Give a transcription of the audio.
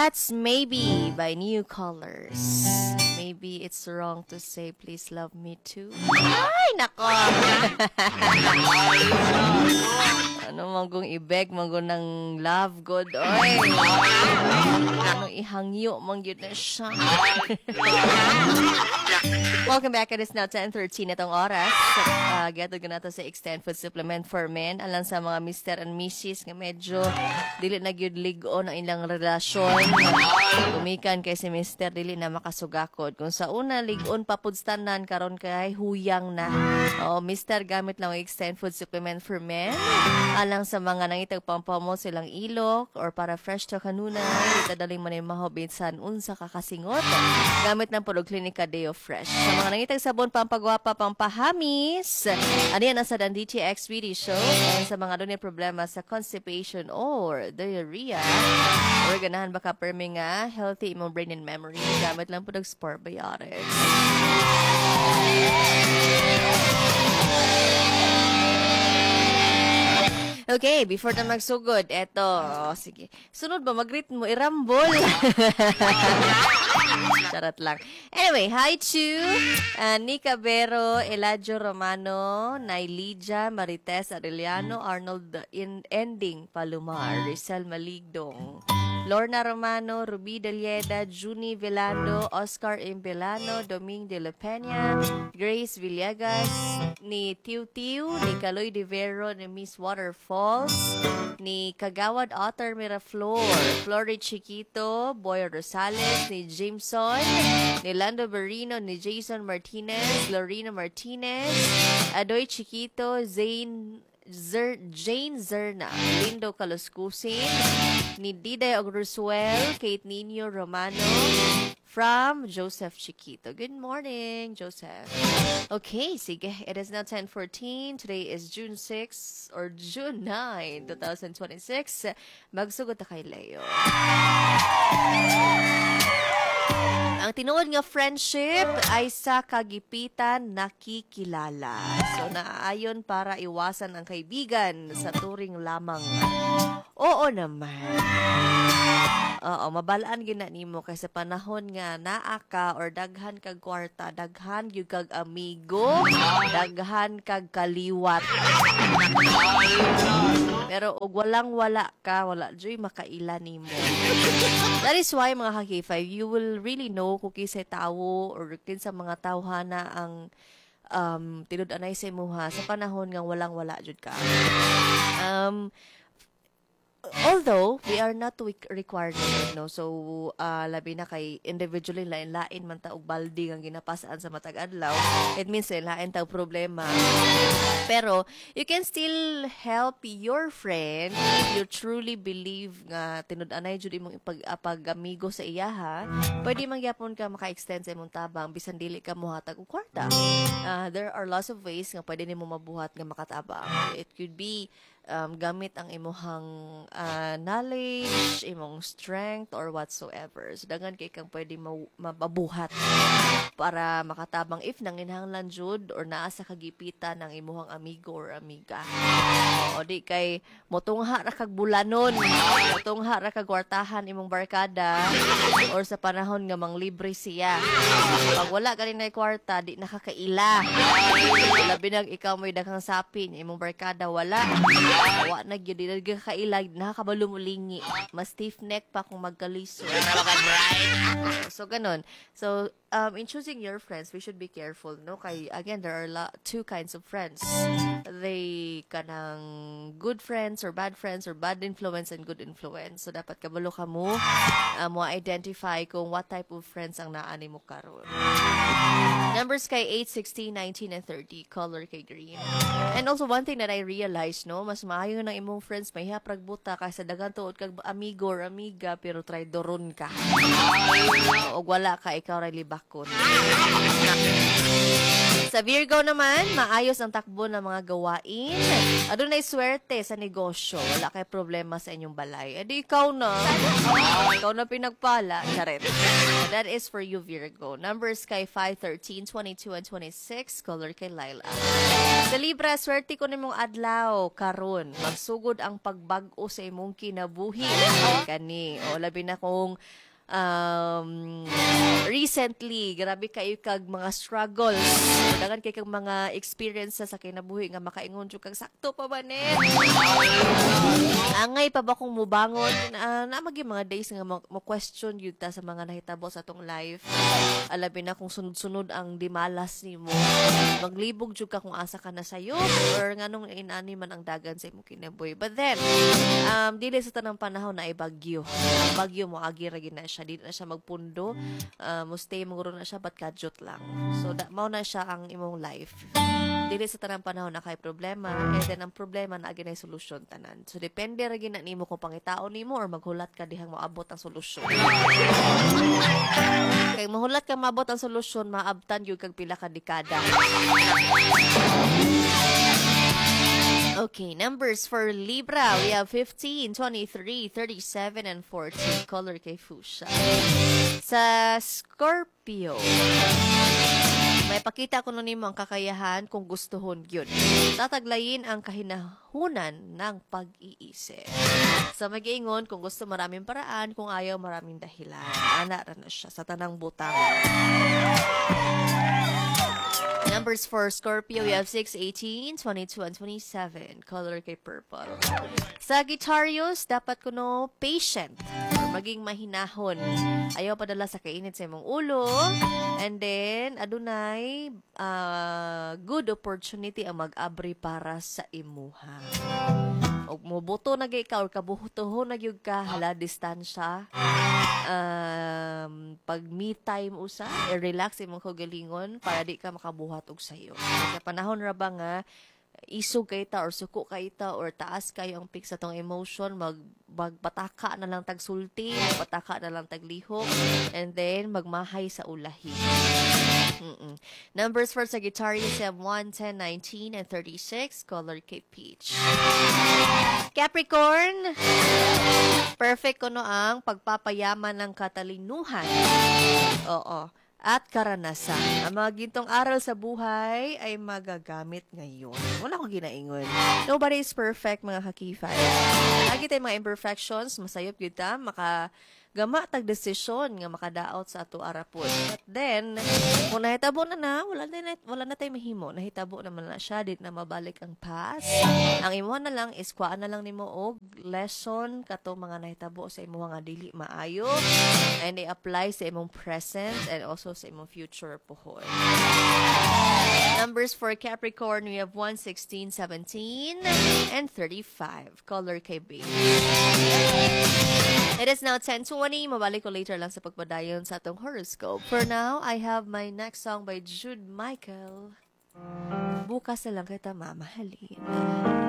That's "Maybe" by New Colors. Maybe it's wrong to say please love me too. Ay, nako! Ano man kung i-beg man kung ng love god, oy. Ano ihangyo man gyud na siya. Welcome back. It is now 10:13 itong oras. Getog na to sa Extend Food Supplement for Men. Alang sa mga Mr. and Mrs. nga medyo dili na gyud lig-on ang ilang relasyon. Gumikan kay si Mr. dili na makasugakod. Kung sa una lig-on pa pud tanan, karon kay huyang na. Oh, Mr., gamit lang ang Extend Food Supplement for Men. Alang sa mga nangitag pampamo silang ilok or para fresh to kanunay, itadaling man maho bisan unsa ka kasingot. Gamit ng pud og Clinica Deo Fresh. Sa mga nangitag sabon pampagwapa, pampahamis, ano yan sa Dan DTX Beauty Show. And sa mga dunay problema sa constipation or diarrhea, or ganahan ba ka permi nga healthy imong brain and memory, gamit lang pud og Sport Biotics. Okay, before na magsugod, eto, oh, sige. Sunod ba, mag-greet mo, irambol. Charot lang. Anyway, hi to Nika Vero, Eladio Romano, Nailidia, Marites Arellano, Arnold in Ending Palomar, Rizal Maligdong, Lorna Romano, Ruby Delieda, Juni Velando, Oscar Impelano, Doming de la Peña, Grace Villegas, ni Tiu Tiu, ni Kaloy de Vero, ni Miss Waterfalls, ni Kagawad Otter Miraflor, Flory Chiquito, Boy Rosales, ni Jameson, ni Lando Berino, ni Jason Martinez, Lorena Martinez, Adoy Chiquito, Zane Zer, Jane Zerna, Lindo Kaluskusin, ni Diday Ogrusuel, Kate Nino Romano, from Joseph Chiquito. Good morning, Joseph. Okay, sige. It is now 10:14. Today is June 6 or June 9, 2026. Magsugod ta kay Leo. Ang tinuod nga friendship ay sa kagipitan nakikilala. So, naaayon para iwasan ang kaibigan sa turing lamang. Oo naman. Oo, mabalaan gyud na nimo kay sa panahon nga naa ka or daghan kag kwarta, daghan gyud kag amigo, daghan kag kaliwat. Pero og walang wala ka, wala joy makaila nimo. That is why, mga ka-K5, you will really know kung kinsay tawo or kinsa mga tawhana ang tinud-anay sa imuha sa panahon nga walang wala jud ka. Although we are not required, no, so labi na kay individually lain-lain man ta og baldi nga ginapasaan sa matag adlaw, it means lain ta og problema, pero you can still help your friend if you truly believe nga tinud-anay jud imong pag-amigo sa iyaha. Pwede man gyapon ka maka-extend sa imong tabang bisan dili ka mohatag og kwarta. There are lots of ways nga pwede nimo mabuhat nga makatabang. It could be gamit ang imuhang knowledge, imong strength, or whatsoever. So, daghan kay kang pwede mabuhat para makatabang if nanginahanglan jud or naa sa kagipitan ng imuhang amigo or amiga. O di kay motungha ra kag bulanon, motungha ra kag kwartahan imong barkada or sa panahon nga manglibre siya. Pag wala ka rin na kwarta, di nakakaila. Labi nag ikaw mo'y daghang sapin, imong barkada wala. Wa na gyud, di na gyud kaila, nakakabalo mo lingi. Mas stiff neck pa kung magkalisod. So ganon. So in choosing your friends, we should be careful, no? Kay again, there are two kinds of friends. They kanang good friends or bad friends or bad influence and good influence. So dapat kabalo ka mo mo identify kung what type of friends ang naa nimo karon. Numbers kay 8, 16, 19, and 30. Color kay green. And also, one thing that I realized, no, mas maayo ng imong friends, may haprag buta kaysa daghan tuod kag amigo or amiga, pero try doron ka. Og wala ka, ikaw ra libak. Bakot. Sa Virgo naman, maayos ang takbo ng mga gawain. Adunay swerte sa negosyo. Wala kay problema sa inyong balay. Edi ikaw na. Ikaw na pinagpala. Charet. That is for you, Virgo. Numbers kay 5, 13, 22, and 26. Color kay lilac. Sa Libra, swerte ko nimong adlaw karon. Magsugod ang pagbag-o sa imong kinabuhi. Kani, o labi na kung recently, grabe kayo kag mga struggles. Daghan kay kag mga experiences sa kinabuhi nga makaingon jud kag, "Sakto pa ba ni? Angay pa ba kung mubangon?" Na magi mga days nga mo question yun ta sa mga nahitabo sa atong life. Alabi na kung sunod-sunod ang dimalas nimo. Maglibog jud ka kung asa ka na sayo or nganong inani man ang dagan sa imong kinabuhi. But then, dili sa tanang panahon na ay bagyo. Ang bagyo mo agi ra gid na siya, dili na siya magpundo. Mo stay mo na siya but kadyot lang. So da, mao na siya ang imong life. Dili sa tanang panahon na kay problema and then ang problema na ginay solusyon tanan. So depende ra gid na nimo kung pangitaon nimo or maghulat ka dihang moabot ang solusyon. Kay mahulat ka maabot ang solusyon, maabtan gyud kag pila ka dekada. Okay, numbers for Libra. We have 15, 23, 37, and 40. Color kay fuchsia. Sa Scorpio, may pakita ko nimo ang kakayahan kung gustuhon yun. Tataglayin ang kahinahunan ng pag-iisip. Sa mag-iingon, kung gusto, maraming paraan, kung ayaw, maraming dahilan. Ana ra na siya sa tanang butang. Numbers for Scorpio, we have 6, 18, 22, and 27. Color kay purple. Sagittarius, dapat kuno patient or maging mahinahon. Ayaw padala sa kainit sa imong ulo. And then, adunay good opportunity ang mag-abri para sa imuha. Og mobuto na gyud ka or kabutohon na gyud ka, hala, distansya. Pag me time usa, i-relax imong kaugalingon para di ka makabuhat og sayo. Sa panahon ra ba nga isog kay ta or suko kay ta or taas kayo ang peak sa tong emotion, magpataka na lang tagsulti, magpataka na lang taglihok, and then magmahay sa ulahi. Numbers for Sagittarius have 1, 10, 19, and 36. Color kay peach. Capricorn, perfect kuno ang pagpapayaman ng katalinuhan. Oo. At karanasan. Ang mga gintong aral sa buhay ay magagamit ngayon. Wala akong ginaingon. Nobody is perfect, mga kakifay. Lagi tayong mga imperfections, masayop gyud ta, maka gama tag desisyon nga makadaot sa ato arapon. But then, kung nahitabo na na, wala na tayo mahimo. Nahitabo naman na siya, di na mabalik ang past. Ang imuha na lang is kuhaan na lang nimo og lesson kato mga nahitabo sa imuha nga dili maayo and i-apply sa imong present and also sa imong future puhon. Numbers for Capricorn, we have 1, 16, 17, and 35. Color kay beige. It is now 10:20. Mabalik ko later lang sa pagpadayon sa atong horoscope. For now, I have my next song by Jude Michael. "Bukas na Lang Kita Mamahalin."